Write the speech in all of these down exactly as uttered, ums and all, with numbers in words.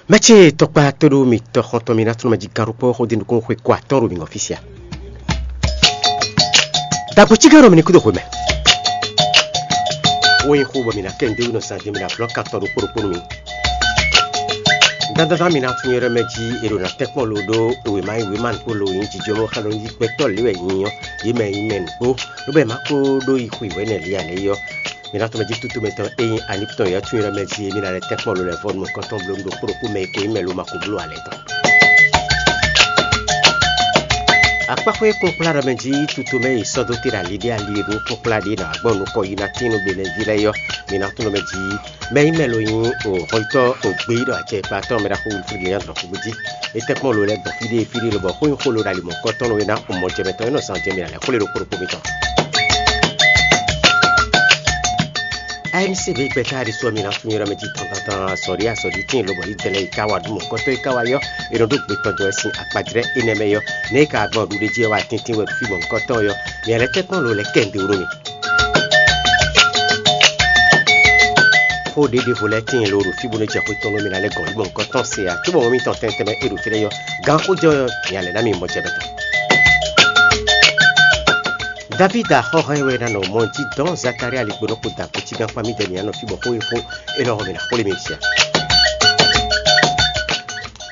Mɛ ce tɔkpa tóɖó mitɔ́ xɔntɔn mi ná tlɔ́n mɛ jí gán ɖokpó xó dín nukún xwe kó atɔ́ ɖo mi ngɔ́ fí sia. Dagbo cí gán ɖo mi ní kúdo xwe mɛ. Wó nyí xó bɔ mi ná kɛ ndéwú nɔ zan jɛ mi ná blɔ́ kan tɔn ɖokpó ɖokpó nú mi. Dandandan mi ná tún nyɔ́ ɖɔ mɛ jí è ɖo ná tɛ́nkpɔ́n lo ɖó wěma e wěma nukpó lo nyí jijɔ́mɔ xá ɖɔ nyi gbɛtɔ́ lě wɛ nyí ɔ́, yě mɛ nyí mɛ nǔgbó, ló bɛ má kó ɖó yi xwi wɛ̌nɛ lě ǎ lě ɔ́. Mi ná tɔ́n mɛ jí tútú mɛtɔn e nyí Aniptɔn yɔ́ tún nyɔ́ ɖɔ mɛ jí mi ná lɛ́ tɛ́nkpɔ́n lo lɛ́ vɔ́ nú mɔ̌kɔntɔn bló nú ɖokpó ɖokpó mɛ e ko nyí mɛ lo ma ko bló alɛ tɔn. Akpáxwé kpɔ́nkplá ɖɔ mɛ jí tutomɛ yi sɔ́ dó te ɖo ali ɖé ali e ɖó kpɔ́nkplá ɖě nɔ agbɔ́n nukɔn yi ná tín nú Benɛví lɛ́ɛ yɔ́, mi ná tunɔ mɛ jí mɛ nyí mɛ lo nyí o hɔnyitɔ́ o gbeyíɖɔ acɛ e kpa tɔn mɛ ɖaxó Wilfrid Leandre xúgbó jí. É tɛ́nkpɔ́n lo lɛ́ɛ gbɔn fí ɖé fí ɖé lobɔ xó nyí xó lo ɖo ali mɔ̌hunkɔtɔn e ná mɔ jɛ mɛtɔn é nɔ zan jɛ mi ná lɛ́ xwlé ɖokpó ɖokpó mitɔn. A N C B gbɛtɔ́ aɖisɔ mi ná tunwun yɔ́ mɛ jí tɔn tɔn tɔn azɔ̌ ɖé azɔ̌ ɖé tíin lobɔ yi dɛlɛ yi ka wa ɖu mɔ̌hunkɔtɔn e ka wa yɔ́, è nɔ ɖó gbe tɔn jɔ wɛ sín akpajlɛ́ énɛ́ mɛ yɔ́. Nɛ̌ e ka gbɔn ɖuɖéjí ɔ́ wá tíntín wɛ ɖo fí mɔ̌hunkɔtɔn ɔ́ yɔ́, mi lɛ́ tɛ́nkpɔ́n lo lɛ́ kɛ nǔɖé wú nú mi. Xó ɖěɖěvo lɛ́ɛ tíin lo ɖo fí bónú jɛ xwé tɔn nú mi ná lɛ́ gɔn yí mɔ̌hunkɔtɔn se ǎ, cóbɔ mɔ mitɔn tɛntɛn mɛ e ɖo fí lɛ́ɛ yɔ́, gǎn xó jɛ ɔ́, mi nya lɛ̌ ná mi mɔ jɛ mɛ tɔn. Davída xɔ́hɔn e wɛ ná nɔ mɔ jí dɔn Zakalía ligbó nɔ kpo da kúcígán kpá mì dɛ mǐ nɔ fí bɔ xó e xó é nɔ hɔn mì ná xwlé mi sia.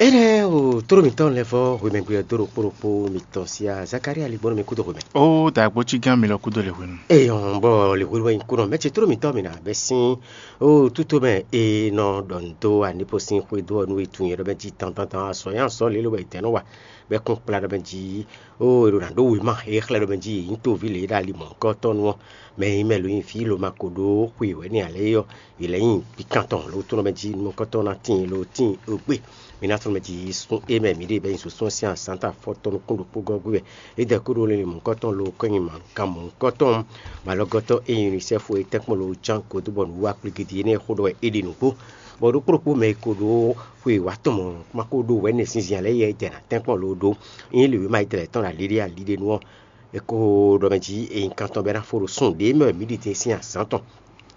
Énɛ́ o tló mǐtɔn lɛ́ vɔ́ hwemɛgbe ɔ́ dó ɖokpó ɖokpó mitɔn sia Zakalía ligbó nɔ mi kúdo hwemɛ. Ó dǎgbó cígán mi lɔ kúdo lě hwenu. Eyɔn bɔ lě hwenu wɛ nyí kúnɔ mɛ ce tló mǐtɔn mǐ ná bɛ́ sín ó tútó mɛ e nɔ ɖɔ nǔ dó anǐpo sín xwedó ɔ́ nú e tunwun nyɛ ɖɔ mɛ jí dandandan azɔ̌ nyí azɔ̌ lě lobɔ è tɛ̌ nɔ wa bɔ é kún kplá ɖɔ mɛ jí ó è ɖo ná ɖó wěma e xlɛ́ ɖɔ mɛ jí yě nyí toví lě ɖo ali mɔ̌hunkɔtɔn nu ɔ́, mɛ e nyí mɛ lo nyi vǐ lo ma ko ɖó xwe wɛ̌ n'i ǎ lě ɔ́, yě lɛ́ nyi gbikantɔn lo tónɔ mɛ jí nukɔntɔn ná tíin lo tíin ogbe. Mi ná tlɔ́n mɛ jí yi sún é mɛ mǐ ɖe bɛ́ nyi sosó sín azǎn ta fɔ́tɔ́ nukún ɖokpó gɔ́ gbe wɛ. É dɛ kúɖo lili mɔ̌hunkɔtɔn lo kɔ́nyi mǎkán mɔ̌hunkɔtɔn mǎlɔgɔ́tɔn e nyi UNICEF e tɛ́nkpɔ́n lo ján godó bɔ nǔwiwa kpligidi énɛ́ xó ɖɔ wɛ é ɖe nǔgbó. Bɔ ɖokpó ɖokpó mɛ e ko ɖó xwe wǎ tɔn mɔ̌ ma ko ɖó wɛ̌ nɛ́ zinzin ǎ lɛ́ɛ yɛ jɛ ná tɛ́nkpɔ́n lo ɖó. Nyí lěwéma yi tlɛ tɔn ɖo aliɖé aliɖé nu ɔ́, è ko ɖɔ mɛ jí è nyí kan tɔn bɔ é ná fó ɖo sun ɖě mɛ wɛ mǐ ɖi din sín azǎn tɔn.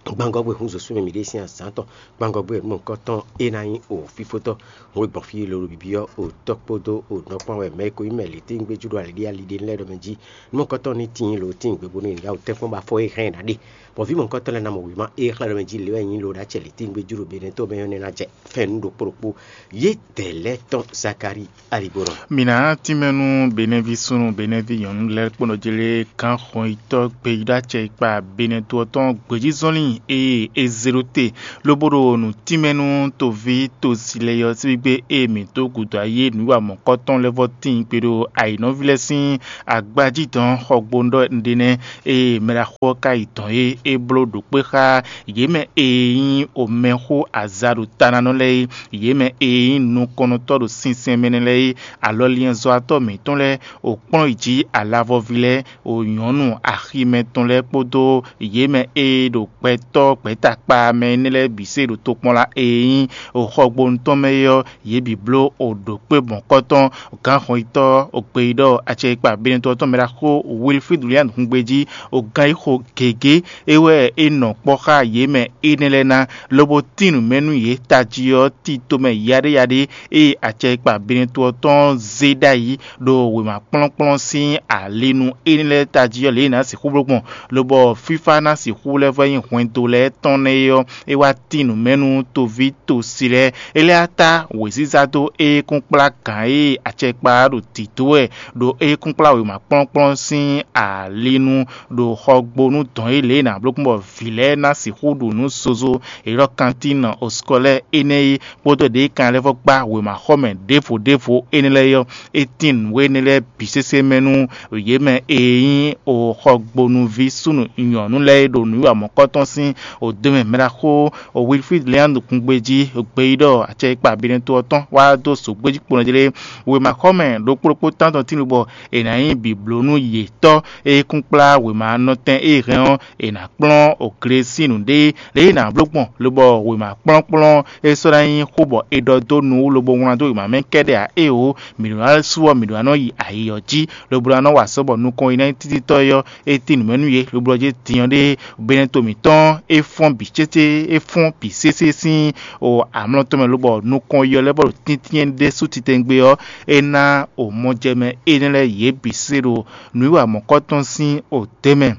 Gbangɔ́gbɛ́ hun zǒsú mɛ mǐ ɖe sín azǎn tɔn. Gbangɔ́gbɛ́ nukɔntɔn é ná nyí o fífótɔ́. Hun e gbɔn fí lolo bǐbí ɔ́, o tɔ́ kpódó o nɔ kpán wɛ mɛ e ko nyí mɛ lěténgbéjú ɖo aliɖé aliɖé lɛ́ɛ ɖɔ mɛ jí. Nú mɔ̌hunkɔtɔn ní tíin lo tíin gbe bónú è nǐ yá wǔ tɛ́nkpɔ́n bɔ afɔ e hɛn ɛ ná ɖe, bɔ vǐ mɔ̌hunkɔtɔn lɛ́ɛ ná mɔ wěma e xlɛ́ ɖɔ mɛ jí lě wɛ nyí lo ɖó acɛ lěténgbéjú ɖo Benɛtɔ́ mɛ ɔ́ nɛ́ ná jɛ fɛ́n nú ɖokpó ɖokpó. Yě dɛ lɛ́ɛ tɔn Zakalíi aligbó nɔ. Mǐ ná tínmɛ nú Benɛ́ví súnnu, Benɛ́ví nyɔ̌nu lɛ́ɛ kpó nɔ jlé gǎn xɔnyitɔ́ gbeyíɖɔ acɛ e kpa Benɛ́ to ɔ́ tɔn gbějízɔnlin e è zě ɖó te, lobo ɖo nǔ tínmɛ nú toví tosi lɛ́ɛ ɔ́ sín gbígbé e mǐ dó gǔdo ayé nǔwiwa mɔ̌kɔ́tɔn lɛ́ɛ vɔ́ tíin gbe ɖo ayǐnɔví lɛ́ɛ sín agbají dɔn xɔgbónu ɖɔ un ɖe nɛ́, ée mɛɖaxó ɔ́ ka yi dɔ̌n é, é bló ɖǒ kpé xá yě mɛ e nyí omɛxó aza ɖo tananɔ lɛ́ɛ é, yě mɛ e nyí nukɔnnɔtɔ́ ɖo sinsɛn mɛ nɛ́ lɛ́ɛ é, alɔliɛnzɔ́watɔ́ mǐtɔn lɛ́ɛ, wǒ kplɔ́n yi jǐ alavɔví lɛ́ɛ, wǒ nyɔ̌nu aximɛ tɔn lɛ́ɛ kpódó yě mɛ e ɖo gbɛtɔ́ gbɛ̌takpa mɛ énɛ́ lɛ́ɛ bǐ se ɖo tokpɔnla e nyí xɔgbónu tɔn mɛ é ɔ́, yě bǐ bló ɖǒ kpé mɔ̌kɔ́tɔn gǎnxɔnyitɔ́ gbeyíɖɔ acɛyikpa Benɛtɔ́ tɔn mɛ ɖaxó Wilfrid William hungbe jí, gán yi xo gěgé é wɛ é nɔ kpɔ́ xá yě mɛ énɛ́ lɛ́ɛ ná, lobo tín nǔ mɛ nú yě tají ɔ́ tito mɛ yaɖéyaɖé e acɛyikpa Benɛtɔ́ tɔn zé ɖ'ayǐ ɖo wěma kplɔ́nkplɔ́n sín alinu énɛ́ lɛ́ɛ tají ɔ́ lě e è nǎ sixú bló gbɔn, lobɔ fífá ná sixú lɛ́ vɔ nyí hwɛndo lɛ́ɛ tɔn nɛ́ é ɔ́, é wá tín nǔ mɛ nú toví tosi lɛ́ɛ. É lɛ́ á tá wěziza dó éyékúnkplá gǎn e acɛkpa ɖo dǐdó wɛ ɖo éyékúnkplá wěma kplɔ́nkplɔ́n sín ali nu ɖo xɔgbónu dɔn e lě e è nǎ bló gbɔn bɔ vǐ lɛ́ɛ ná sixú ɖu nǔ zozo e ɖɔ kantín osukɔlɛ́ énɛ́ é, kpódó ɖě e kan lɛ́ vɔ gbá wěmaxɔmɛ ɖěvo ɖěvo énɛ́ lɛ́ɛ é ɔ́, é tín nǔ énɛ́ lɛ́ɛ bǐ sésé mɛ nú yě mɛ e nyí xɔgbónuví súnnu nyɔ̌nu lɛ́ɛ e ɖo nǔwiwa mɔ̌kɔ́tɔn sín odó mɛ mɛɖaxó Wilfrid Leandre kungbe jí gbeyíɖɔ acɛyikpa Benɛtɔ́ ɔ́ tɔn wá dó zǒgbéjí kponɔ jlé. Wěmaxɔmɛ ɖokpó ɖokpó tántɔn tín bɔ è nǎ nyí bǐbló nú yětɔn e kún kplá wěma nɔtɛn e hɛn ɔ́, è nǎ kplɔ́n ogle sín nǔɖé lě e è nǎ bló gbɔn, lobɔ wěma kplɔ́nkplɔ́n e sɔ́ ná nyí xó bɔ è ɖɔ dó nu wú lobo wlán dó wěma mɛ kɛ́ɖɛ́ ǎ. Éeǒ, mǐ ɖó ná sú ɔ́, mǐ ɖó ná nɔ yi ayǐ ɔ́ jí, lobo ná nɔ wa sɔ́ bɔ nukɔn e ná nyí títítɔ́ é ɔ́, é tín nǔ mɛ nú yě, lobo ɔ́ jí din ɔ́ ɖe Benɛto mǐtɔn é fɔ́n bǐ cécé, é fɔ́n bǐ sésé sín o amlɔ tɔn mɛ lobɔ nukɔn yɔ lɛ́ɛ bɔ ɖo tíntín ɖésú titewungbe ɔ́, é ná o mɔjɛmɛ énɛ́ lɛ́ɛ yě bǐ se ɖo nǔwiwa mɔ̌kɔtɔn sín o dě mɛ.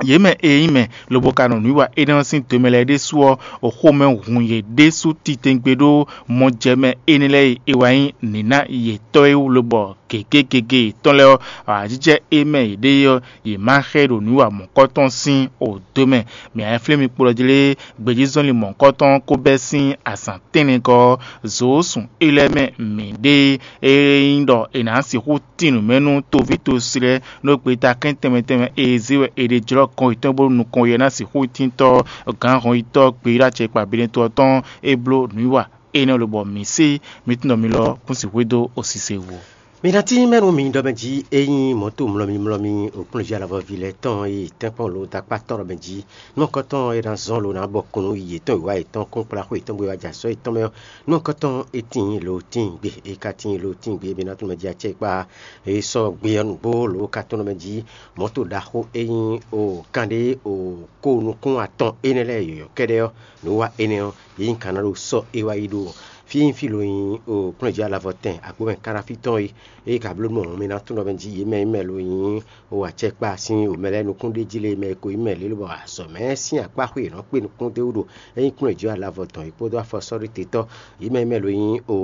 Yě mɛ e nyí mɛ lobo ka nɔ nǔwiwa énɛ́ ɔ́ sín do mɛ lɛ́ɛ ɖésú ɔ́, o xomɛ hun yě ɖésú titewungbe ɖó mɔjɛmɛ énɛ́ lɛ́ɛ e è wá nyí nǐná yětɔn é wú lobɔ gěgé gěgé yětɔn lɛ́ɛ ɔ́, awǎjijɛ e mɛ yě ɖe é ɔ́, yě má xɛ ɖo nǔ wa mɔ̌kɔtɔn sín o dó mɛ. Mǐ a flé mi kplɔ́ jí lé, gbějízɔnlin mɔ̌kɔtɔn ko bɛ́ sín azǎn tɛ́nnɛgɔ́ ɔ́, zǒ sún é lɛ́ɛ mɛ mǐ ɖe e nyí ɖɔ è nǎ sixú tín nǔ mɛ nú toví tosi lɛ́ɛ, nú gbeta kɛn tɛnmɛ tɛnmɛ e zé wɛ è ɖe jlɔ́ kɔn yětɔn bónú nukɔn yɛ ná sixú tíntɔ́ gǎn hɔnyitɔ́ gbeyíɖɔ acɛkpa Benɛto ɔ́ tɔn é bló nǔwiwa énɛ́ lobɔ mǐ se mǐ tunwun ɖɔ mi lɔ kún sixú dó osise wú. Mi ná tín mɛ nú mi ɖɔ mɛ jí é nyí mɔ̌to mlɔ́mí mlɔ́mí òkplɔ́njí alavɔví lɛ́ɛ tɔn e tɛ́nkpɔ́n lo dó akpá tɔn ɖɔ mɛ jí. Nú kɔ́tɔn e ná zɔ́n lo ná bɔ kùnú yi yětɔn wǐwá yětɔn kún kplá xó yětɔn gbe wá jɛ azɔ̌ yětɔn mɛ ɔ́, nú kɔ́tɔn e tíin lo tíin gbe, e ka tíin lo tíin gbe, mi ná tunwun mɛ jí acɛ kpá e sɔ́ gbe ɔ́ nǔgbó lo ka tɔn ɖɔ mɛ jí mɔ̌to ɖaxó e nyí o kanɖé o ko nukún atɔn énɛ́ lɛ́ɛ yɔ̌yɔ́ kɛ́ɖɛ́ ɔ́, nǔ wa énɛ́ ɔ́, yě nyí kan ná ɖo sɔ́ é wá yi ɖo fí e nyí fí lo nyí o kplɔ́njí alavɔ tɛn agbǒmɛ kánáfí tɔn é. Ée ka bló nú mɔ̌ mi ná tunwun ɖɔ mɛ jí yě mɛ e mɛ lo nyí o acɛkpá sín o mɛ lɛ́ɛ nukún ɖé jí lé mɛ e ko nyí mɛ lě lobɔ azɔ̌ mɛ sín akpá xwe yě nɔ kpé nukún d'é wú ɖo é nyí kplɔ́njí alavɔ tɔn é kpódó afɔsɔ́ɖótetɔ́ yě mɛ e mɛ lo nyí o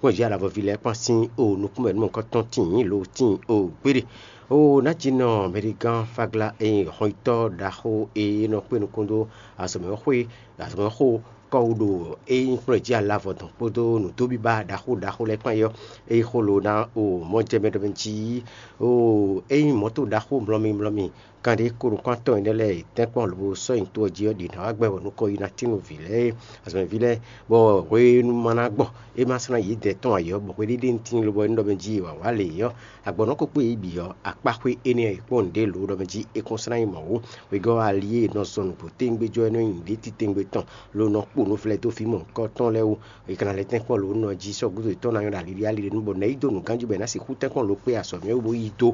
kplɔ́njí alavɔví lɛ́ɛ kpán sín o nukún mɛ nú mɔ̌kɔ́tɔn tíin lo tíin o gbéɖe. O ná jí nɔ mɛɖigán Fagla e nyí hɔnyitɔ́ ɖaxó e nɔ kpé nukún dó azɔ̌mɛxwé azɔ̌mɛxó kɔ́ wú ɖo é nyí kplɔ́njí alavɔ tɔn kpódó nǔdóbíbá ɖaxó ɖaxó lɛ́ɛ kpán é ɔ́, é nyí xó lo ná o mɔjɛmɛ ɖɔ mɛ jí o é nyí mɔ̌to ɖaxó mlɔ́mí mlɔ́mí kanɖé ko nukún atɔn énɛ́ lɛ́ɛ e tɛ́nkpɔ́n lobo sɔ́ nyi to ɔ́ jí ɔ́ ɖi nǎ wá gbɛ bɔ nukɔn yi ná tín nú vǐ lɛ́ɛ é azɔ̌mɛví lɛ́ɛ, bɔ hwenu ma ná gbɔ é ma slán yědɛɛ tɔn ayǐ ɔ́, bɔ hweɖéɖé ní tíin lobo é ní ɖɔ mɛ jí wǎwá lě é ɔ́, agbɔ̌nɔ́ ko kpé yě bǐ ɔ́, akpá xwé énɛ́ e kpɔ́n nǔɖé lǒ ɖɔ mɛ jí é kún slán nyí mɔ̌ ó. Wegɔ́ ali e è nɔ zɔn nǔgbó tɛ́ngbé jɔ é nɔ nyi nǔɖé titewungbe tɔn, lo nɔ kpo nǔvlɛ́ dó fí mɔ̌hunkɔtɔn lɛ́ɛ wú. È ka ná lɛ́ tɛ́nkpɔ́n lǒ nɔ jí sɔ́ gúdo yětɔn ná nyɔ́ ɖo ali ɖé ali ɖé nú bɔ nɛ̌ yí dó nǔganjí bɔ è nǎ sixú tɛ́nkpɔ́n lǒ kpé azɔ̌ mɛ wú bó yí dó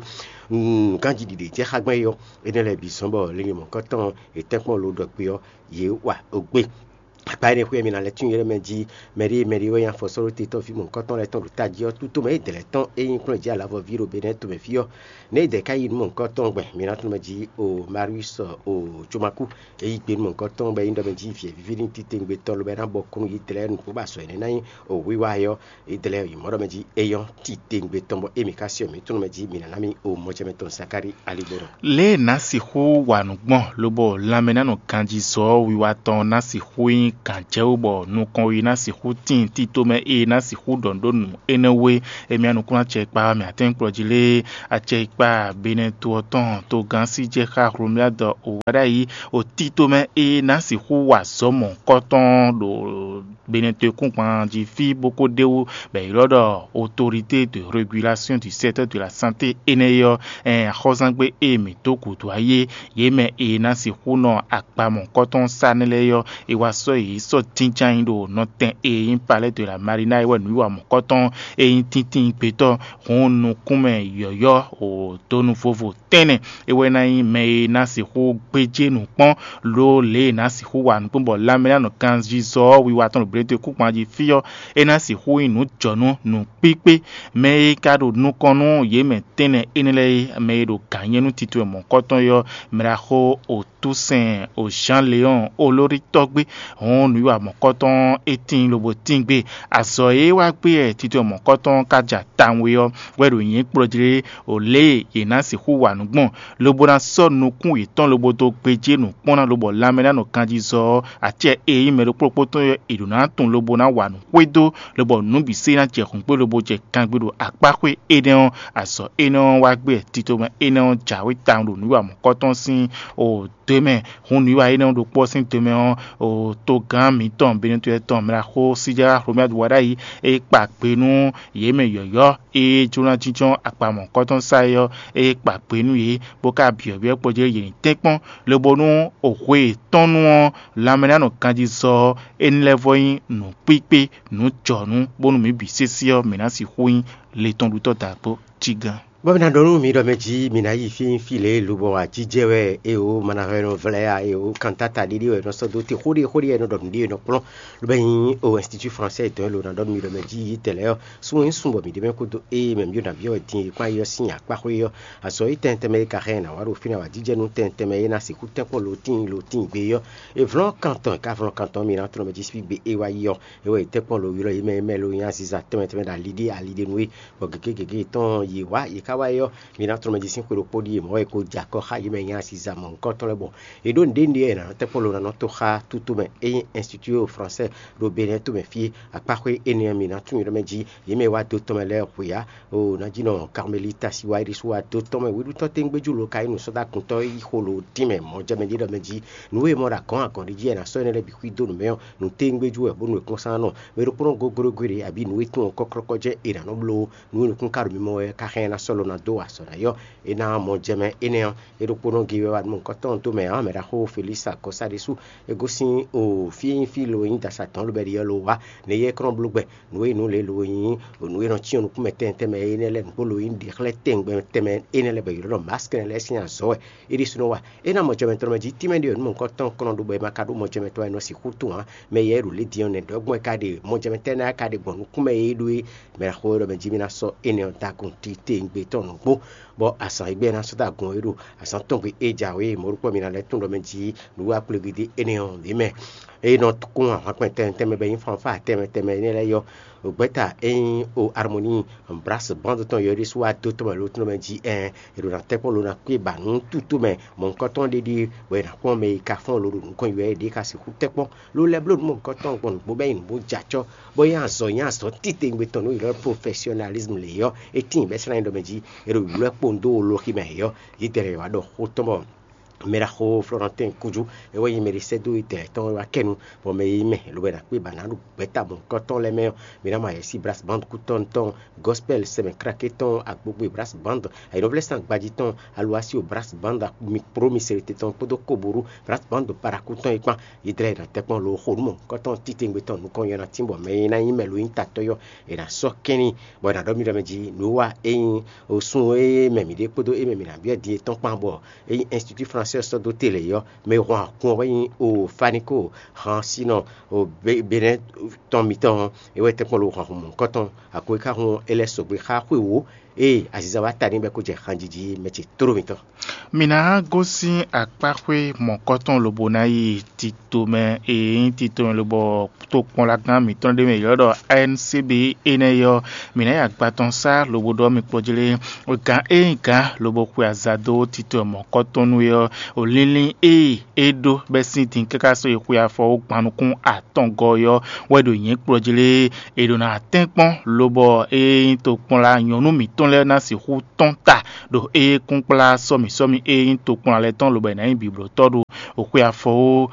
nǔganjí ɖiɖe jɛ xá gbɛn é ɔ́, énɛ́ lɛ́ɛ bǐ zɔ́n bɔ linlin mɔ̌hunkɔtɔn e tɛ́nkpɔ́n lǒ ɖɔ kpé ɔ́, yě wa ogbé. Akpa énɛ́ xwé mi ná lɛ́ tún ylɔ́ mɛ jí mɛɖé mɛɖé wɛ nyí afɔsɔ́ɖótetɔ́ fí mɔ̌hunkɔtɔn lɛ́ɛ tɔn ɖo tají ɔ́, tútó mɛ é dɛ̌ lɛ́ɛ tɔn é nyí kplɔ́njí alavɔví ɖo Benɛ́ tomɛ fí ɔ́, nɛ̌ é dɛ̌ ká yi nú mɔ̌hunkɔtɔn gbɛn mi ná tunwun mɛ jí o Marius o Jomakú é yí gbe nú mɔ̌hunkɔtɔn bɔ é nyí ɖɔ mɛ jí vǐ e víví ní titewungbe tɔn lobɔ é ná bɔ kún nú yě dlɛ́ nǔgbó ba azɔ̌ énɛ́ ná nyí o wiwa é ɔ́, é dlɛ́ yi mɔ̌ ɖɔ mɛ jí é nyɔ́ titewungbe tɔn bɔ émí ka se ɔ́, mǐ tunwun mɛ jí mǐ ná ná mì o mɔjɛmɛ tɔn Zakári aligbɔnɔ. Lě e è nǎ sixú wa nǔ gbɔn lobɔ lanmɛ ná nɔ ganjí zɔ ɔ́ wiwa tɔn ná sixú nyí gǎnjɛwú bɔ nukɔn e ná sixú tíin tito mɛ e ná sixú ɖɔ nǔ ɖó nǔ énɛ́ wú é. Émí anukúnnú acɛ kpa mɛ atɛ́nkplɔ́ jí lé acɛ kpa Benɛto ɔ́ tɔn togán sí jɛ xá Hlomyadɔ o wá ɖ'ayǐ o tito mɛ e ná sixú wa zɔ mɔ̌hunkɔtɔn ɖo Benɛto e kún gban jí fí bó ko ɖ'é wú bɔ è ylɔ́ ɖɔ autorité de régulation du secteur de la santé énɛ́ é ɔ́, ɛn axɔ́zángbé e mǐ dó gǔdo ayé yě mɛ e ná sixú nɔ akpa mɔ̌kɔtɔn sá nɛ́ lɛ́ɛ ɔ́, è wá sɔ́ yě sɔ́ jínján nyi ɖo nɔtɛn e nyí Palais de la Marina é wɛ nǔwiwa mɔ̌kɔtɔn e nyí tíntín gbetɔ́ hun nukúnmɛ yɔ̌yɔ́ o donu vovo tɛ́nnɛ é wɛ ná nyí mɛ e ná sixú gbéjé nǔ kpɔ́n ló lě e è nǎ sixú wa nǔ kpɔ́n bɔ lanmɛ ná nɔ ganzizɔ ɔ́ wiwa tɔn ɖo Benɛto e kún gban jí fí ɔ́, é ná sixú nyí nǔjɔnú nǔkpíkpé. Mɛ e ka ɖo nukɔn nú yě mɛ tɛ́nnɛ énɛ́ lɛ́ɛ é, mɛ e ɖo gǎn nyɛ nú tito e mɔ̌kɔtɔn é ɔ́, mɛ ɖaxó Otúsɛn o Jean Léon Olórí tɔ́gbé hɔn nǔwiwa mɔ̌kɔtɔn é tíin lobo tíin gbe. Azɔ̌ e wá gbé wɛ tito e mɔ̌kɔtɔn ka ja tawun é ɔ́, wɛ ɖo nyǐ kplɔ́ jí lé o lě e yě ná sixú wa nǔ gbɔn, lobo ná sɔ́ nukún yětɔn lobo dó gbéjé nǔ kpɔ́n ná lobɔ lanmɛ ná nɔ ganjí zɔ ɔ́, acɛ e nyí mɛ ɖokpó ɖokpó tɔn ɔ́, è ɖǒ ná tunwun lobo ná wa nǔ xwedó, lobɔ nǔ bǐ sé ná jɛ hǔn kpé lobo jɛ gangbé ɖo akpá xwé énɛ́ ɔ́, azɔ̌ énɛ́ ɔ́ wá gbé tito mɛ énɛ́ ɔ́ jǎwe tawun ɖo nǔwiwa mɔ̌kɔtɔn sín o dó mɛ. Hun nǔwiwa énɛ́ ɔ́ ɖokpó ɔ́ sín do mɛ ɔ́, o togán mǐtɔn Benɛto tɔn mɛ ɖaxó Síjá Hlomyadu wá ɖ'ayǐ, é kpa gbe nú yě mɛ yɔ̌yɔ́ e jló ná jínjɔ́n akpa mɔ̌kɔtɔn sá é ɔ́, é kpa gbe nú yě, bó ka byɔ̌byɔ́ kpɔ́ jɛ yě ní tɛ́nkpɔ́n, lobo nú o hwe yětɔn nu ɔ́, lanmɛ ná nɔ ganjí zɔ ɔ́, é ní lɛ́ vɔ nyí nǔkpíkpé, nǔjɔnú, bónú mǐ bǐ sésé ɔ́, mǐ ná sixú nyí letɔnɖutɔ́ dǎgbó cí gán. Bɔ mi ná ɖɔ nú mi ɖɔ mɛ jí mi ná yi fí fí lě lobɔ ajijɛ wɛ, eo manahɛnɔ vlɛ́ a, eo kantata ɖiɖi wɛ nɔ sɔ́ dó te xóɖi xóɖi wɛ nɔ ɖɔ nǔɖi e nɔ kplɔ́n, lobɛ nyí o institut français dɔn lo ná ɖɔ nú mi ɖɔ mɛ jí yi tɛlɛ ɔ́, sun e sun bɔ mi ɖe mɛ kúdó eye mɛ mi ɖo nǎví ɔ́ din e kpán yi ɔ́ sín akpá xwé ɔ́, azɔ̌ yi tɛntɛn mɛ e ka xɛ ná wá ɖo fínɛ́ wá jijɛ nú tɛntɛn mɛ e ná sixú tɛ́nkpɔ́n lo tíin lo tíin gbe ɔ́, e vlɔ́n kantɔn e ka vlɔ́n kantɔn mi ná tlɔ́n mɛ jí síbí gbe e wá yi ɔ́, é wɛ è tɛ́nkpɔ́n lo ylɔ́ yě mɛ e mɛ lo nyí aziza tɛnmɛ tɛnmɛ ɖo ali ɖé ali ɖé nú é, bɔ gěgé gěgé tɔn yě wá yě ká wá é ɔ́, mi ná tlɔ́n mɛ jí sín xwe ɖokpó ɖíe mɔ̌ wɛ è ko jɛ akɔ xá yě mɛ nyí aziza mɔ̌hunkɔtɔn lɛ́ɛ bɔ è ɖǒ nǔɖé nǔɖé e è nǎ tɛ́nkpɔ́n lo ná nɔ tó xá tútú mɛ é nyí Institut Français ɖo Benɛ́ to mɛ fí, akpáxwé énɛ́ ɔ́ mi ná tunwun ylɔ́ mɛ jí yě mɛ e wá dó tɔn mɛ lɛ́ɛ hwe ǎ. O ná jí nɔ Karmelita si wá é ɖésú wá dó tɔn mɛ wěɖú tɔn téngbéjú lo ka nyí nǔsɔ́dáguntɔ́ e yí xo lo dín mɛ mɔ̌ jɛ mɛ ɖé ɖɔ mɛ jí nǔ e mɔ ɖo agɔ̌n agɔ̌n ɖé jí wɛ è nǎ sɔ́ énɛ́ lɛ́ɛ bǐ xwídó nǔ mɛ ɔ́, nǔ téngbéjú wɛ bó nú è kplɔ́n sán nɔ mɛ ɖokpónɔ goglogo ɖé abǐ nǔ e tunwun kɔ́klɔ́kɔ́ jɛ́n è nǎ nɔ bló nǔ e nukúnkáɖo mímɔ wɛ ká xá ɛ ná sɔ́ lo ná dó wa azɔ̌ ná yɔ́. É ná mɔ jɛ mɛ énɛ́ ɔ́, é ɖokpónɔ gé wɛ wá nú mɔ̌hunkɔtɔn dó mɛ ǎ, mɛ ɖaxó Felísa Akɔsá ɖésú é gosín o fí e nyí fí lo e nyí dasa tɔn lobɛ́ ɖi ɔ́ lo wá. Nɛ̌ yɛ é kɔn bló gbɛ nǔ e nǔ lě lo e nyí nǔ e nɔ cyɔ́n nukún mɛ tɛnmɛ tɛnmɛ énɛ́ lɛ́ɛ nǔgbó lo e nyí ɖěxlɛ́ tɛngbɛ tɛnmɛ énɛ́ lɛ́ɛ bɔ è ylɔ́ ɖɔ maskɛ́nɛ lɛ́ɛ sín azɔ̌ wɛ é ɖésúnɔ wa. É ná mɔ jɛ mɛ tɔn mɛ jí tínmɛ ɖé ɔ́, nú mɔ̌hunkɔtɔn kɔn nɔ ɖo bɔ è ma ka ɖó mɔ jɛ mɛ tɔn wɛ è nɔ sixú tunwun ǎ. Mɛ yɛ e ɖo lě din ɔ́, nɛ̌ ɖɔgbɔn é ka ɖe, mɔ jɛ mɛ tɛ́ ná ka ɖe gbɔn nukún mɛ e ɖó é? Mɛ ɖaxó e ɖɔ mɛ jí mì ná sɔ́ énɛ́ ɔ́ dó agun titewungbe tɔn nǔgbó, bɔ azǎn e gbɛ́ ná sɔ́ dó agun ɔ́ é ɖo azǎn tɔn gbe é jǎwe mɔ̌ ɖokpó mì ná lɛ́ tunwun ɖɔ mɛ jí nǔwiwa kplɔ́ngbídé énɛ́ ɔ́, mǐ mɛ. É nɔ kún ahwan kpɛn tɛnmɛ tɛnmɛ bɔ é nyí fanfáa tɛnmɛ tɛnmɛ énɛ́ lɛ́ɛ yɔ́. Gbɛ̌ta e nyí o harmonie brás band tɔn yɔ ɖésú wá dó tɔn mɛ lo tɔn mɛ jí ɛn, è ɖo ná tɛ́ kpɔ́n lo ná kpé ba nǔ tútú mɛ mɔ̌hunkɔtɔn ɖé ɖíe, bɔ è nǎ kpɔ́n mɛ e ka fɔ́n lo ɖo nǔkɔn yi wɛ é ɖě ka sixú tɛ́ kpɔ́n. Lo lɛ́ bló nǔ mɔ̌hunkɔtɔn gbɔn nǔgbó bɛ́ nyi nǔgbó jɛ acɔ́, bɔ é nyí azɔ̌ nyí azɔ̌ titewungbe tɔn nú è ylɔ́ ɖɔ profɛsionalismu lě ɔ́, é tíin bɛ́ slán nyí ɖɔ mɛ jí è ɖo wǔlú wɛ kpowun dó loxi mɛ ǎ ɔ́, yídɛɛ lɛ́ɛ wá ɖɔ xó tɔn bɔ mɛ ɖaxó Flɔ́nɔtɛ́n Kújú é wɛ nyí mɛ ɖé sɛ́ dó yídɛɛ tɔn wá kɛ nu, bɔ mɛ e nyí mɛ lobo è nǎ kpé ba ná ɖo gbɛ̌ta mɔ̌hunkɔtɔn lɛ́ɛ mɛ ɔ́, mi ná mɔ ayɛ̌sí brás band kútɔ́nu tɔn, gospɛl sɛmɛ kráké tɔn, agbogbe brás band, ayǐnɔvlɛ́sán gbají tɔn, aluwasi o brás band, mi kpló mi se ɖo te tɔn kpódó koború brás band paraku tɔn é kpán. Yídɛɛ lɛ́ɛ ná tɛ́ kpɔ́n lo xo nú mɔ̌hunkɔtɔn titewungbe tɔn nukɔn nyɔ ná tín bɔ mɛ e ná nyí mɛ lo nyí tatɔ́ yɔ́ è nǎ sɔ́ kɛ́n n'i, bɔ è nǎ ɖɔ mì ɖɔ mɛ jí nǔ wa é nyí o sun e mɛ mǐ ɖe kpódó é mɛ mǐ ná byɔ́ din é tɔn kpán bɔ é nyí Institut Français sɔ́ dó te lě ɔ́, mɛ e hɔn agun ɔ́ wɛ nyí o Faniko Hansinɔ o Benɛ́ tɔn mitɔn ɔ́, é wɛ tɛ́nkpɔ́n lo hɔn hun mɔ̌hunkɔtɔn. Agun e ka hun é lɛ́ sɔgbe xá xwé wǒ ée aziza wá ta n'i bɔ é ko jɛ hanjiji mɛ ce tló mitɔn. Mǐ ná gosín akpáxwé mɔ̌kɔtɔn lobo ná yi tito mɛ e nyí tito mɛ lobɔ tokpɔnlagán mǐtɔn ɖé mɛ è ylɔ́ ɖɔ A N C B énɛ́ é ɔ́, mǐ ná yi agba tɔn sá lobo ɖɔ mì kplɔ́ jlé. Gǎn e nyí gǎn lobo xwe aza dó tito mɔ̌kɔtɔn nú é ɔ́, o linlin e é ɖó bɛ́ sín din káká sɔ́ yi xwe afɔ ó gban nukún atɔngɔ́ ɔ́ wɛ ɖo nyǐ kplɔ́ jlé. È ɖǒ ná tɛ́nkpɔ́n lobɔ é nyí tokpɔnla nyɔ̌nu mǐtɔn lɛ́ɛ ná sixú tɔ́n ta ɖo éyɛ́kúnkplá sɔ́mǐsɔ́mǐ e nyí tokpɔnla lɛ́ɛ tɔn lobɔ è nǎ nyí bǐblótɔ́ ɖo xwe afɔ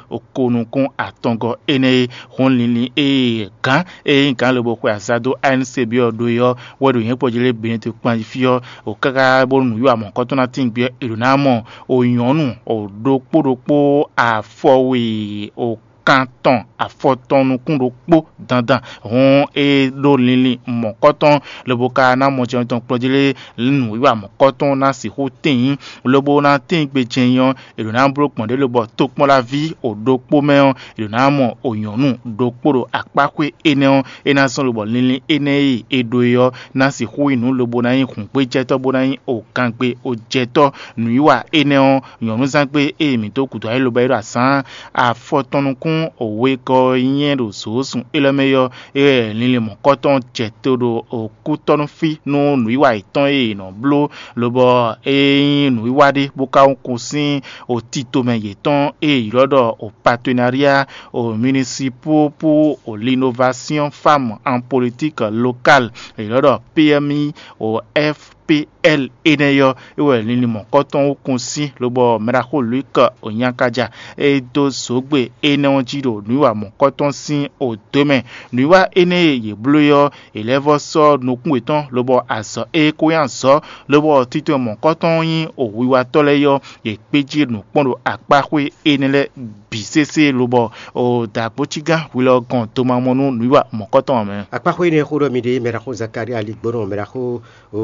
ó, ko nukún atɔngɔ́ énɛ́ e hɔn linlin e gǎn e nyí gǎn lobo xwe azado A N C B ɔ́ ɖó é ɔ́ wɛ ɖo nyǐkɔ jí lé Benɛ́ti kpan jí fí ɔ́, o káká bónú nǔwiwa mɔ̌kɔtɔn ná tín gbé ɔ́, è ɖǒ ná mɔ o nyɔ̌nu o ɖokpó ɖokpó afɔwe o kan tɔn afɔ tɔn nukún ɖokpó dandan. Hɔn é ɖó linlin mɔ̌kɔtɔn lobo ka ná mɔ jɛun tɔn kplɔ́ jí lé nǔwiwa mɔ̌kɔtɔn ná sixú tíin, lobo ná tíin gbe jɛnyɔ è ɖǒ ná bló gbɔn ɖě lobɔ tokpɔ́nlaví o ɖokpó mɛ ɔ́, è ɖǒ ná mɔ o nyɔ̌nu ɖokpó ɖo akpáxwé énɛ́ ɔ́, é ná zɔ́n lobɔ linlin énɛ́ e è ɖó é ɔ́ ná sixú nyí nǔ lobo ná nyí hǔngbéjɛtɔ́ bó ná nyí o gangbe o jɛtɔ́. Nǔwiwa énɛ́ ɔ́, nyɔ̌núzángbé e mǐ dó gǔdo ayé lobo é ɖo azǎn afɔ tɔn nukún wegɔ́ nyɛ ɖo zǒ sun élɔ́ mɛ ɔ́, é wɛ linlin mɔ̌kɔtɔn jɛ to ɖo kútɔ́núfí nú nǔwiwa yětɔn e è nɔ bló, lobɔ é nyí nǔwiwa ɖé bó ka kún sín o tito mɛ yětɔn e è ylɔ́ ɖɔ o partenariat o municipal pour o l'innovation femme en politique locale, è ylɔ́ ɖɔ P M I o F P L énɛ́ ɔ́, é wɛ linlin mɔ̌kɔtɔn ó kún sín, lobɔ mɛɖaxó Luc Onyakaja e dó zǒgbe énɛ́ ɔ́ jí ɖo nǔwiwa mɔ̌kɔtɔn sín odǒ mɛ. Nǔwiwa énɛ́ e yě bló é ɔ́, è lɛ́ vɔ́ sɔ́ nukún yětɔn, lobɔ azɔ̌ e ko nyí azɔ̌, lobɔ tito mɔ̌kɔtɔn nyí o wiwatɔ́ lɛ́ɛ ɔ́, yě kpé jí nǔ kpɔ́n ɖo akpáxwé énɛ́ lɛ́ɛ bǐ sésé, lobɔ o dǎgbócígán hwilɔ gɔn domamɔ nú nǔwiwa mɔ̌kɔtɔn ɔ́ mɛ. Akpáxwé énɛ́ xó ɖɔ mi ɖe mɛɖaxó Zakaria Ligbɔnɔ mɛɖaxó o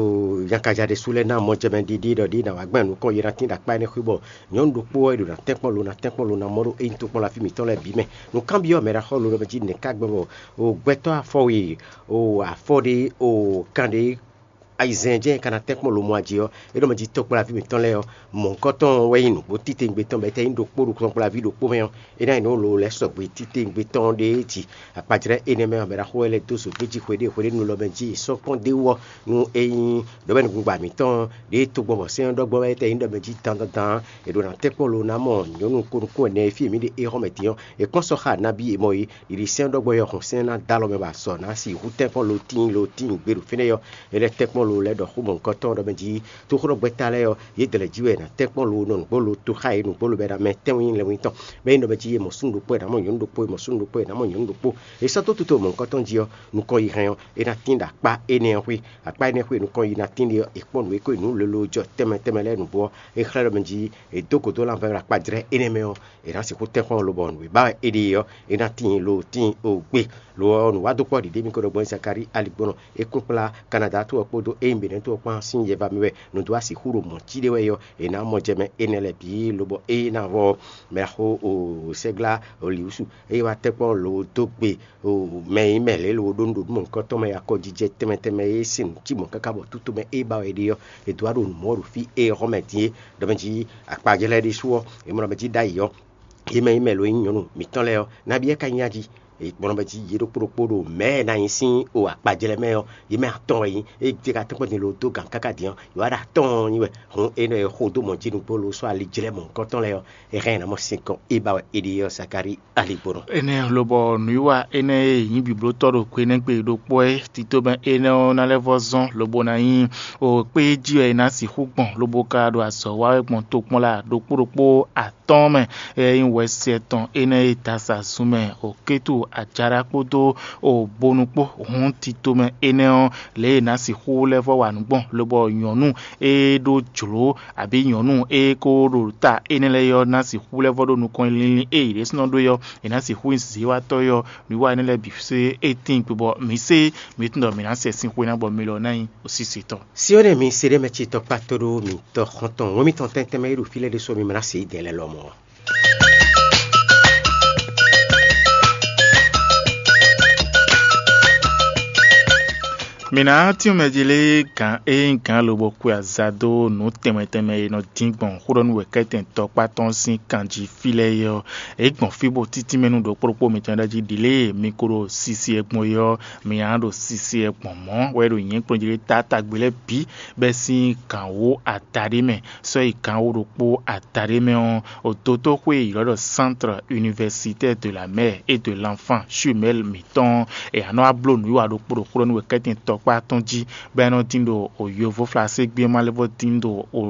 Jakaja ɖésú lɛ́ɛ ná mɔjɛmɛ ɖiɖi ɖɔ ɖi ná wá gbɛn nukɔn yi ná tín ɖo akpá énɛ́ xwé bɔ nyɔ̌nu ɖokpó wɛ ɖo ná tɛ́nkpɔ́n lo ná tɛ́nkpɔ́n lo ná mɔ ɖó ényí tokpɔ́n laví mǐtɔn lɛ́ɛ bǐ mɛ. Nǔkanbyɔ́ mɛ ɖaxó lo ɖɔ mɛ jí nɛ̌ ká gbɛn bɔ o gbɛtɔ́ afɔ we o afɔ ɖé o kan ɖé ayizɛ́n jɛ́n ka ná tɛ́nkpɔ́n lo mɔ ají ɔ́, é ɖɔ mɛ jí tɔkpɔ́laví mǐtɔn lɛ́ɛ ɔ́, mɔ̌hunkɔtɔn wɛ nyí nǔgbó titewungbe tɔn bɔ é tɛ́ nyí ɖokpó ɖo tɔkpɔ́laví ɖokpó mɛ ɔ́, é ná nyí nǔ lǒ lɛ́ sɔgbe titewungbe tɔn ɖéé jí. Akpajlɛ́ énɛ́ mɛ ɔ́, mɛ ɖaxó wɛ lɛ́ dó zo gbéjí hweɖée hweɖénu lɔ mɛ jí sɔ́ kpɔ́n d'é wú ɔ́, nú é nyí ɖɔ̌mɛnúgbà mǐtɔn ɖěe togbɔ bɔ sɛ́n ɔ́ ɖɔ gbɔn wɛ é tɛ́ nyí ɖɔ mɛ jí dandandan. È ɖǒ ná tɛ́nkpɔ́n lo ná mɔ nyɔ̌nu ko nukún ɛnɛ e fí e mǐ ɖe é hɔn mɛ din ɔ́, è kpɔ́n sɔ́ xa nabí e mɔ é. Ɖiɖi sɛ́n ɔ́ ɖɔ gbɔn é ɔ́, hɔn sɛ́n ná dó alɔ mɛ bɔ azɔ̌ ná sixú tɛ́nkpɔ́n lo tíin lo tíin gbe ɖo fínɛ́ ɔ́, é lɛ́ tɛ́nkpɔ́n lo lɛ́ ɖɔ xó mɔ̌hunkɔtɔn ɖɔ mɛ jí tóxóɖɔgbɛ́ta lɛ́ɛ ɔ́, yědɛɛ lɛ́ɛ jí wɛ è nǎ tɛ́nkpɔ́n lo nɔ nǔgbó lo toxá e nǔgbó lo bɛ ɖo amɛ tɛ́nwe nyí lɛ́nwí tɔn. Bɔ é nyí ɖɔ mɛ jí è mɔ súnnu ɖokpó è nǎ mɔ nyɔ̌nu ɖokpó, è mɔ súnnu ɖokpó è nǎ mɔ nyɔ̌nu ɖokpó. È sɔ́ dó tutó mɔ̌hunkɔtɔn jí ɔ́, nukɔn yi hɛn ɔ́, é ná tín ɖo akpá énɛ́ ɔ́ xwé. Akpá énɛ́ xwé nukɔn yi ná tín ɖe ɔ́, è kpɔ́n nǔ e ko nyi nǔ lolo jɔ tɛnmɛ tɛnmɛ lɛ́ɛ nǔgbó ɔ́, é xlɛ́ ɖɔ mɛ jí è dó gǒ dó lanvɛ́ ɖo akpajlɛ́ énɛ́ mɛ ɔ́, è nǎ sixú tɛ́nkpɔ́n lobɔ nǔ e ba wɛ è ɖe ɔ́, é ná tíin lo tíin o gbe. Lo ɔ́, nǔwádókpɔ́ ɖiɖe mì ko ɖɔ gbɔn Zakalíi aligbɔnɔ e kún kplá Kanada to ɔ́ kpódó ényí Benɛ́ to ɔ́ kpán sín yɛva mɛ wɛ nǔ dó asixú ɖo mɔ̌ cí ɖé wɛ ɔ́, è nǎ mɔ jɛ mɛ énɛ́ lɛ́ɛ bǐ lobɔ é ná vɔ mɛ xó o sɛ́glá o lǐwúsu, eye wá tɛ́nkpɔ́n lo dó gbe o mɛ e nyí mɛ lě lo ɖó nǔɖuɖu mɔ̌hunkɔtɔn mɛ akɔjijɛ tɛnmɛ tɛnmɛ e sín nǔ cí mɔ̌ káká bɔ tútomɛ e ba wɛ è ɖe ɔ́, è dǒ wá ɖo nǔ mɔ ɖo fí e hɔn mɛ din é. Ɖɔ mɛ jí akpajɛ lɛ́ɛ ɖésú ɔ́, è mɔ ɖɔ mɛ jí ɖ'ayǐ ɔ́, yě mɛ e nyí mɛ lo nyí nyɔ̌nu mǐtɔn lɛ́ɛ ɔ́, nabí wɛ ka nyí a jí? È kplɔ́n mɛ jí yě ɖokpó ɖokpó ɖo mɛ̌ e ná nyí sín o akpajlɛ́ mɛ ɔ́, yě mɛ atɔn wɛ nyí. Ée jɛ ka tɔ́n kpɔ́n din lo dó gǎn káká din ɔ́, yě wá ɖo atɔ́ɔ́n nyi wɛ. Hǔn énɛ́ e xo dó mɔ̌ jí nǔgbó lo sɔ́ alijlɛ́ mɔ̌hunkɔtɔn lɛ́ɛ ɔ́, è hɛn ɛ ná mɔ sinkɔn e ba wɛ è ɖe ɔ́ Zakalíi aligbɔnɔ. Énɛ́ lobɔ nǔwiwa énɛ́ e nyǐ biblótɔ́ ɖo gbe énɛ́ gbe ɖokpó é, tito mɛ énɛ́ ɔ́ ná lɛ́ vɔ́ zɔ́n lobo ná nyí o kpé jí wɛ è nǎ sixú gbɔn lobo ka ɖo azɔ̌ wa wɛ gbɔn tokpɔnla ɖokpó ɖokpó atɔ́ɔ́n mɛ. Ée nyí wɛsi tɔn énɛ́ e dasa zun mɛ o Kétu Ajaɖá kpódó o Bonu kpó hɔn tito mɛ énɛ́ ɔ́, lě e è nǎ sixú lɛ́ vɔ́ wa nǔ gbɔn lobɔ nyɔ̌nu e ɖó jlǒ abǐ nyɔ̌nu e ko ɖo ta énɛ́ lɛ́ɛ ɔ́ ná sixú lɛ́ vɔ́ ɖó nukɔn linlin e yě ɖésúnɔ ɖó é ɔ́, è nǎ sixú nyí zǐzíwatɔ́ é ɔ́, nǔwiwa énɛ́ lɛ́ɛ bǐ sé é tíin gbe bɔ mǐ sé mǐ tunwun ɖɔ mǐ ná sɛ sín xwe ná bɔ mi lɔ ná nyí osísitɔ́. Siwénɛ mi se ɖé mɛ ce tɔkpá tó ɖó mi tɔ xɔntɔn wɛn mitɔn tɛntɛn mɛ e ɖo fí lɛ́ɛ ɖésú mi ma ná se yi dɛ̌n lɛ́ɛ lɔmɔ̌ ɔ́. Mǐ ná tínmɛ jí lé gǎn e nyí gǎn lobo xwe aza dó nǔ tɛnmɛ tɛnmɛ e nɔ dín gbɔn xó ɖɔ nú wěkɛ́tɛn tɔkpá tɔn sín kan jí fí lɛ́ɛ é ɔ́, é gbɔn fí bó títínmɛ nú ɖokpó ɖokpó mitɔn ɖɔ jí ɖi lě e mi ko ɖo sisi e gbɔn é ɔ́, mi ná ɖo sisi e gbɔn mɔ̌ wɛ ɖo nyǐkɔ jí lé tátágbe lɛ́ɛ bǐ bɛ́ sín gǎn wó adaɖé mɛ, sɔ́ yi gǎn wó ɖokpó adaɖé mɛ ɔ́, odotóxwé e ylɔ́ ɖɔ Centre Universitaire de la Mère et de l'Enfant Jumelle mǐtɔn ɔ́, è nǎ nɔ wá bló nǔwiwa ɖokpó ɖokpó ɖɔ nú wěkɛ́tɛn tɔkpá tɔn jí, bɔ é nɔ dín ɖo o yovo flaségbé ɔ́ ma lɛ́ vɔ́ dín ɖo o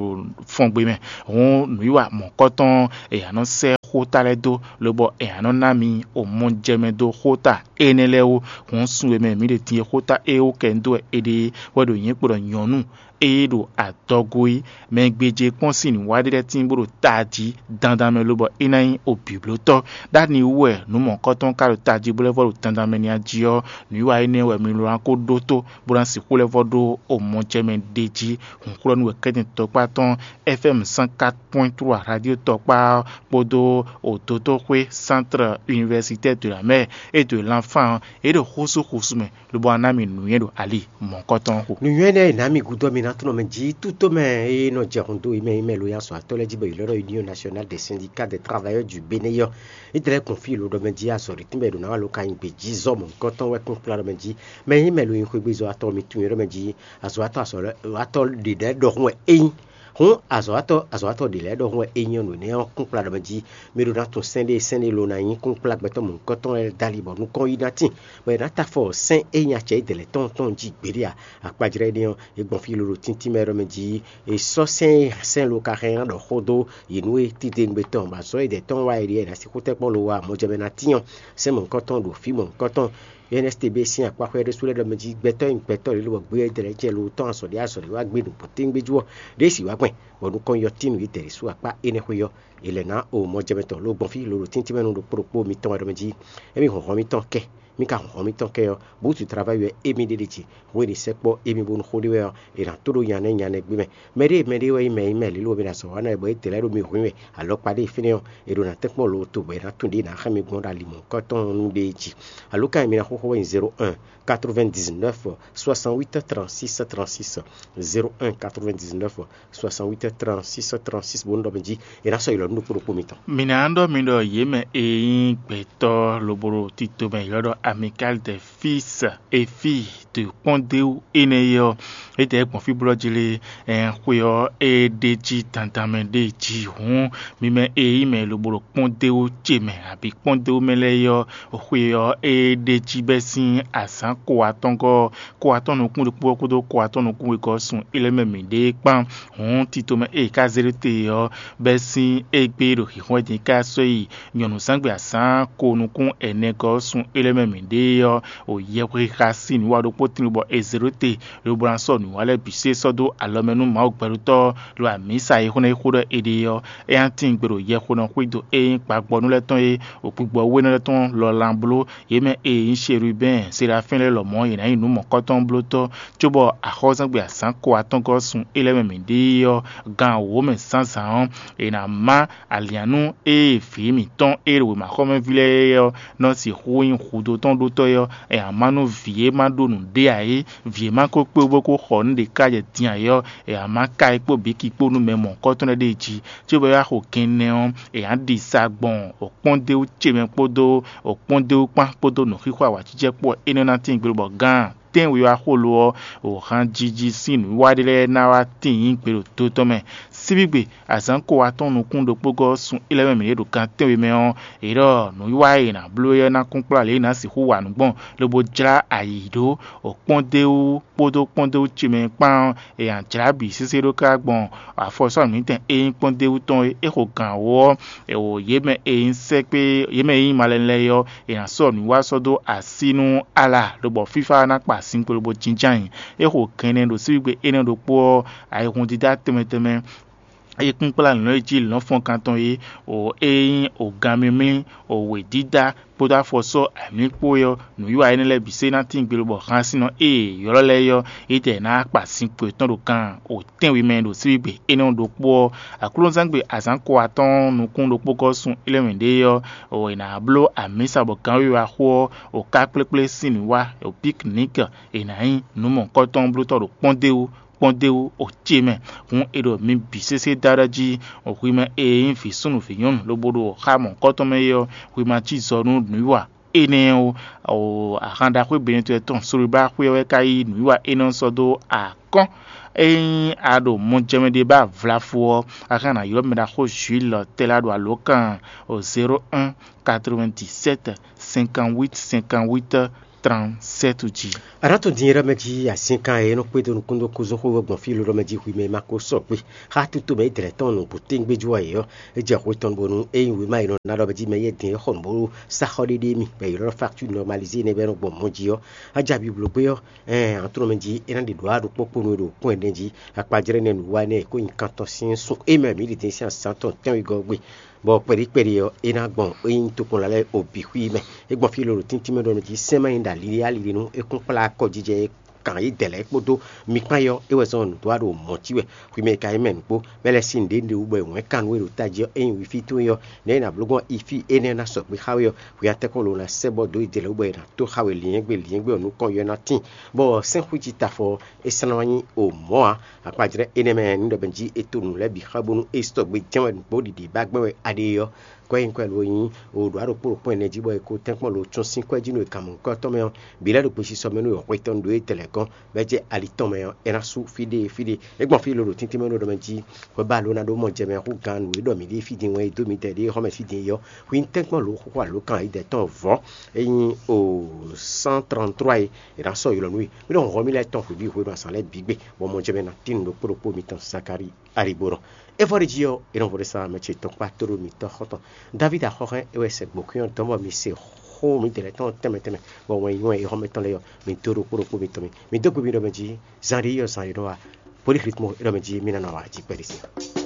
fɔngbe mɛ. Hǔn nǔwiwa mɔ̌kɔtɔn è nǎ nɔ sɛ́ xóta lɛ́ɛ dó, lobɔ è nǎ nɔ ná mi o mɔjɛmɛ dó xóta énɛ́ lɛ́ɛ wú. Hǔn sun e mɛ mǐ ɖe din e xóta e wú kɛ un dó wɛ è ɖe é wɛ ɖo nyǐkɔ ɖɔ nyɔ̌nu e ɖo adɔgo é, mɛ e gbéjé kpɔ́n sín nǔwiwa ɖé lɛ́ɛ tíin bó ɖo tají dandan mɛ lobɔ é ná nyí o bǐblótɔ́. Ɖ'ani wú wɛ nǔ mɔ̌kɔtɔn ka ɖo tají bó lɛ́ vɔ́ ɖo dandan mɛ n'i a jí ɔ́, nǔwiwa énɛ́ wɛ mi lɔ ná ko ɖótó bó ná sixú lɛ́ vɔ́ ɖó o mɔjɛmɛ ɖ'é jí. Hǔnxlɔ́nú wɛ kɛ́tɛn tɔkpá tɔn F M cent quatre point trois radio tɔkpá ɔ́ kpódó o dotóxwé Centre Universitaire de la Mère et de l'Enfant ɔ́, é ɖo xúsúxúsú mɛ lobo ná ná mi nǔnywɛ́ ɖo ali mɔ̌hunkɔtɔn xo. Nǔnywɛ́ énɛ́ e nǎ mi gúdo mi ná tunɔ mɛ jí tútomɛ e nɔ jɛ hun dó yi mɛ yi mɛ lo nyi azɔ̌watɔ́ lɛ́ɛ jí bɔ yě lɔ́ ɖɔ Union Nationale des Syndicats des Travailleurs du Bénin ɔ́, é dlɛ́ gbɔn fí lo ɖɔ mɛ jí azɔ̌ ɖě tínmɛ ɖo nǎ wa lo ka nyi gbě jí zɔ mɔ̌hunkɔtɔn wɛ kún kplá ɖɔ mɛ jí. Mɛ yi mɛ lo nyi xwégbezɔ́watɔ́ mi tunwun é ɖɔ mɛ jí azɔ̌watɔ́ azɔ̌watɔ́ ɖě lɛ́ɛ ɖɔhun wɛ é nyí. Hǔn azɔ̌watɔ́ azɔ̌watɔ́ ɖě lɛ́ɛ ɖɔhun wɛ é nyí ɔ́, nǔ énɛ́ ɔ́ kún kplá ɖɔ mɛ jí mi ɖó ná tunwun sɛ́n ɖé sɛ́n ɖé lo ná nyí kún kplá gbɛtɔ́ mɔ̌hunkɔtɔn lɛ́ɛ dó ali bɔ nukɔn yi ná tíin. Bɔ è nǎ ta afɔ sɛ́n e nyi acɛ édɛɛ lɛ́ɛ tɔn tɔn jí gbeɖé ǎ. Akpajlɛ́ énɛ́ ɔ́, é gbɔn fí lolo tíntín mɛ ɖɔ mɛ jí è sɔ́ sɛ́n e sɛ́n lo ka hɛn ná ɖɔ xó dó yě nú é titewungbe tɔn, bɔ azɔ̌ édɛɛ tɔn wá é ɖíe è nǎ sixú tɛ́nkpɔ́n lo wá mɔjɛmɛ ná tíin ɔ́, sɛ́n mɔ̌hunkɔtɔn ɖo fí mɔ̌hunkɔtɔn. N S T B sín akpáxwɛ ɖésú lɛ́ɛ ɖɔ mɛ jí gbɛtɔ́ e nyí gbɛtɔ́ lě lobɔ gbé édɛɛ lɛ́ɛ jɛ lo tɔn azɔ̌ ɖé azɔ̌ ɖé wá gbé ɖo bɔ̌téŋgbé jú ɔ́, ɖěe sì wá gbɛn, bɔ nukɔn yɔ tín nǔ édɛɛ ɖésú akpá énɛ́ xwé ɔ́, è lɛ̌ ná o mɔjɛmɛ tɔn lo gbɔn fí lolo tíntín mɛ nú ɖokpó ɖokpó mitɔn wɛ ɖɔ mɛ jí émí hlɔ̌nhlɔ́n mitɔn kɛ mì ka hɔn mì tɔn kɛ ɔ́, bǔtu travayi wɛ émí ɖe ɖe jí, hwenu e è sɛkpɔ́ émí bónú xó ɖé wɛ ɔ́, è nǎ tó ɖó nya nɛ́ nya nɛ́ gbé mɛ. Mɛ ɖé mɛ ɖé wɛ nyí mɛ nyí mɛ lílo mɛ ɖo azɔ̌ wa ná wɛ bɔ é dlɛ̌ ɖo mì hwín wɛ, alɔkpa ɖé fínɛ́ ɔ́, è ɖo ná tɛ́nkpɔ́n lo to bɔ è nǎ tunwun ɖě è nǎ xá mi gbɔn ɖo alimɔ̌kɔ́tɔn ɔ́ nu ɖ'é jí. Alǒkan e mi ná xóxó wɛ nyí zéro un, quatre-vingt-dix-neuf, soixante-huit, trente-six, trente-six, zéro un, quatre-vingt-dix-neuf, soixante-huit, trente-six, trente-six, bónú ɖɔ mɛ jí è nǎ sɔ́ ylɔ̌ nú ɖokpó ɖokpó mitɔn. Mǐ ná ɖɔ mi ɖɔ yě mɛ e nyí gbɛtɔ́ lobo ɖo tito mɛ ylɔ́ ɖɔ Amicale des Fils et Filles de Kpɔ́ndéwu énɛ́ é ɔ́, étɛ́ gbɔn fí blɔ́ jí lé? Ɛn xwe ɔ́, é ɖ'é jí dandan mɛ ɖ'é jí hǔn, mi mɛ e nyí mɛ lobo ɖo Kpɔ́ndéwu ce mɛ abǐ Kpɔ́ndéwu mɛ lɛ́ɛ é ɔ́, xwe ɔ́, é ɖ'é jí bɛ́ sín azǎn ko atɔ́ngɔ́ ɔ́, ko atɔ́ nukún ɖokpó ɔ́ kpódó ko atɔ́ nukún wegɔ́ ɔ́ sun é lɛ́ mɛ mǐ ɖe kpán. Hǔn tito mɛ e è ka zé ɖó te ɔ́, bɛ́ sín égbé ɖo xǐxɔ́n din ká sɔ́ yi nyɔ̌nuzángbe azǎn ko nukún ɛnɛ gɔ́ ɔ́ sun é lɛ́ mɛ mǐ ɖe ɔ́, o yɛhwexa sín nǔwa ɖokpó tín bɔ è zě ɖó te, lobo ná sɔ́ nǔwa lɛ́ɛ bǐ sé sɔ́ dó alɔ mɛ nú Mawu gbɛɖotɔ́ ɔ́, ɖo amǐsa e xó ná yi xó ɖɔ è ɖe ɔ́, é ná tíin gbe ɖo yɛxonɔ xwído e nyí gbagbɔnú lɛ́ɛ tɔn e, o gbigbɔ wénɔ lɛ́ɛ tɔn lɔ lan bló. Yě mɛ e nyí Sherubɛ́n, Selafɛ́n lɛ́ɛ lɔmɔ̌, yě ná nyí nǔ mɔ̌kɔtɔn blótɔ́, cóbɔ axɔ́súgbɛ azǎn ko atɔ́ngɔ́ sun é lɛ́ɛ mɛ mǐ ɖe é ɔ́, gan wǒ mɛ zǎnzǎn ɔ́, è nǎ má alǐannú e vǐ mǐtɔn e ɖo wěmaxɔmɛví lɛ́ɛ é ɔ́ nɔ sixú nyí hudó tɔn ɖótɔ́ é ɔ́, è nǎ má nú vǐ e ma ɖó nǔɖé ǎ é, vǐ e ma ko kpé bó ko xɔ nǔ ɖě ká jɛ din ǎ é ɔ́, è nǎ má ka é kpó bǐki kpó nú mɛ mɔ̌kɔtɔn lɛ́ɛ ɖ'é jí. Cóbɔ é wá xo kɛnlɛ́ ɔ́, è nǎ ɖi sa gbɔn òkpɔ́ndéwú ce mɛ kpódó òkpɔ́ndéwú kpán kpódó nǔxixo awǎjijɛ kpó ɔ́, énɛ́ ná tín gbe lobɔ gán tɛ́nwe wá xo lo ɔ́, o hanjiji sín nǔwiwa ɖé lɛ́ɛ ná wá tíin nyi gbe ɖo do tɔn mɛ. Síbígbe azǎn ko atɔ́ɔ́n nukún ɖokpó gɔ́ sun é lɛ́ɛ mɛ mǐ ɖe ɖo gan tɛ́nwe mɛ ɔ́, è ɖɔ nǔwiwa e è nǎ bló é ɔ́ ná kún kplá lě e è nǎ sixú wa nǔ gbɔn, lobo jlá ayǐ ɖó òkpɔ́ndéwú kpódó kpɔ́ndéwú ce mɛ kpán ɔ́, è nǎ jlá bǐ sésé ɖó ká gbɔn afɔsɔ́ mǐtɛn e nyí kpɔ́ndéwú tɔn é. É xo gǎn wú ɔ́, è wǒ yě mɛ e nyí sɛ́kpé yě mɛ e nyí malɛnlɛ́ é ɔ́, è nǎ sɔ́ nǔwiwa sɔ́ dó así nú Ala, lobɔ fífá ná kpa sin kpo lobo jínjɔ́n ayǐ. É xo gɛnɛ ɖo síbígbe énɛ́ ɖokpó ɔ́, ayihún dídá tɛnmɛ tɛnmɛ e kún kplá lɔ̌n e jí lɔ̌nfɔ́nkan tɔn é, o é nyí o ganmimlí, o wědídá kpódó afɔsɔ́ amlí kpó é ɔ́, nǔwiwa énɛ́ lɛ́ɛ bǐ sé ná tín gbe lobɔ hansinnɔ e è ylɔ́ lɛ́ɛ é ɔ́, é tɛ ná kpa sin kpo yětɔn ɖo kan o tɛ́nwe mɛ ɖo síbígbe énɛ́ ɔ́ ɖokpó ɔ́. Aklúnɔzángbe azǎn ko atɔ́ɔ́n nukún ɖokpó gɔ́ sun é lɛ́ mɛ ɖě ɔ́, è nǎ bló amǐsa bɔ gǎnwiwa xó ɔ́, o ká kplékplé sín nǔ wá, o piknik, è nǎ nyí nǔ mɔ̌hunkɔtɔn blótɔ́ ɖo kpɔ́ndéwú kpɔ́ndéwú o ce mɛ. Hǔn è ɖo mi bǐ sésé dá ɖɔ jí, hwi mɛ e nyí vǐ súnnu vǐ nyɔ́nu lobo ɖo xá mɔ̌hunkɔtɔn mɛ é ɔ́, hwi ma cí zɔ nú nǔwiwa énɛ́ ó. Ahan ɖaxó e Benɛtɔ́ tɔn Solobáxwé ɔ́ wɛ ka yí nǔwiwa énɛ́ ɔ́ sɔ́ dó akɔ́n. Ényí a ɖo mɔjɛmɛ ɖé ba vlafo ɔ́, a ka ná ylɔ́ mɛ ɖaxó Juílɔ tɛ́ lá ɖo alǒkan zéro un, quatre-vingt-dix-sept, cinquante-huit, cinquante-huit, trente-sept jí. A nǎ tunwun din é ɖɔ mɛ jí azínkan e é nɔ kpédó nukúndó kúzɔ́xó gbɔn fí ló ɖɔ mɛ jí hwi mɛ e ma ko sɔgbe xá tito mɛ é dlɛ̌ tɔn nǔgbó téŋgbé jú ɔ́ é ɔ́, é jɛ hwe tɔn bónú ényí wěma e nɔ ná ɖɔ mɛ jí mɛ yɛ́ din é xɔ nǔ bó sá xɔ ɖéɖé mi, bɔ è ylɔ́ facture normalisé énɛ́ bɔ é nɔ gbɔn mɔ̌ jí ɔ́, a ja bibló gbé ɔ́, ɛn aklúnɔ mɛ jí é ná ɖi ɖǒ aɖokpó kpónú e ɖo kún ɛnɛ jí. Akpajlɛ́ nɛ́ nǔwiwa énɛ́ e kó nyi kan tɔn sín sun émɛ mǐ ɖi din sín azǎn tɔn tɛ́nwegɔ́ gbe, bɔ kpɛɖí kpɛɖí ɔ́, é ná gbɔn é nyí tokpɔnla lɛ́ɛ o bǐ xwí mɛ. É gbɔn fí lolo tíntín mɛ ɖɔ nú jí sɛ́n má nyí ɖo alilí alilí nú é kún kplá akɔ jijɛ e kan yí dɛ̌ lɛ́ɛ kpódó mi kpán é ɔ́, é wɛ zɔ́n nǔdó ɖo mɔ̌ cí wɛ. Xwi mɛ e ka nyí mɛ nǔgbó, mɛ lɛ́ɛ sín nǔɖé nǔɖé wú bɔ è wǔn ɛ kan nú we ɖo tají ɔ́, ényí wifi towe ɔ́, nɛ̌ è nǎ bló gbɔn ifí énɛ́ ná sɔgbe xá we ɔ́, hwi atɛ́kɔ́ lo ná sɛ́ bɔ dó yi dɛ̌ lɛ́ɛ wú bɔ è nǎ tó xá we lǐnyɛ́gbe lǐnyɛ́gbe ɔ́ nukɔn yɔ ná tíin, bɔ sɛ́nxwíji tafɔ ɔ́, é slán wá nyí o mɔ̌ ǎ. Akpajlɛ́ énɛ́ mɛ nú ɖɔ mɛ jí è to nǔ lɛ́ɛ bǐ xá bónú é sɔgbe jɛ́n wɛ nǔgbó ɖiɖi ba gbɛ́ wɛ aɖe ɔ́, kwɛ́ nyí kwɛ́ lo nyí o ɖo aɖokpó ɖokpɔ́n ɛnɛ jí bɔ è ko tɛ́nkpɔ́n lo tún sín kwɛ́ jí nú è kan mɔ nukɔ́tɔn mɛ ɔ́, bǐ lɛ́ ɖo gbesisɔ mɛ nú è xwetɔ́n ɖó é dɛ lɛ̌ gɔ́n, bɔ é jɛ ali tɔn mɛ ɔ́, é ná sú fí ɖé fí ɖé. É gbɔn fí lolo tíntín mɛ nú ɖɔ mɛ jí hwɛ ba lo ná ɖó mɔ jɛ mɛ hú gán nǔ e ɖɔ mǐ ɖe fí din wɛn e dó mǐdɛɛ ɖe xɔ́ mɛ fí din é ɔ́, hwi nyí tɛ́nkpɔ́n lo xóxó alǒkan yi dɛ tɔn vɔ̌. É nyí o cent trente-trois e è nǎ sɔ́ ylɔ̌ nú we. Mí ɖɔ hɔn mí lɛ́ɛ tɔn hwebǐ hwenu azǎn lɛ́ɛ bǐ gbe, bɔ mɔjɛmɛ ná tín nǔ ɖokpó ɖokpó mitɔn Zakalíi Alibo ɖɔ. É vɔ ɖe jí ɔ́, é nɔ vo ɖe sa mɛ ce tɔn kpá tóɖó mitɔn xɔ́ntɔn Davídi axɔ́hɛn é wɛ sɛ gbǒkwín ɔ́ dɔn bɔ mi se xó mǐdɛɛ lɛ́ɛ tɔn tɛnmɛ tɛnmɛ, bɔ wɛn nyí wɛn é xɔ́mɛtɔn lɛ́ɛ ɔ́, mi dó ɖokpó ɖokpó mitɔn mɛ. Mi dó gbe mì ɖɔ mɛ jí, zǎn ɖé yi ɔ́, zǎn ɖé nɔ wá, polixlitmo é ɖɔ mɛ jí mí ná nɔ wá jí kpɛɖé sin.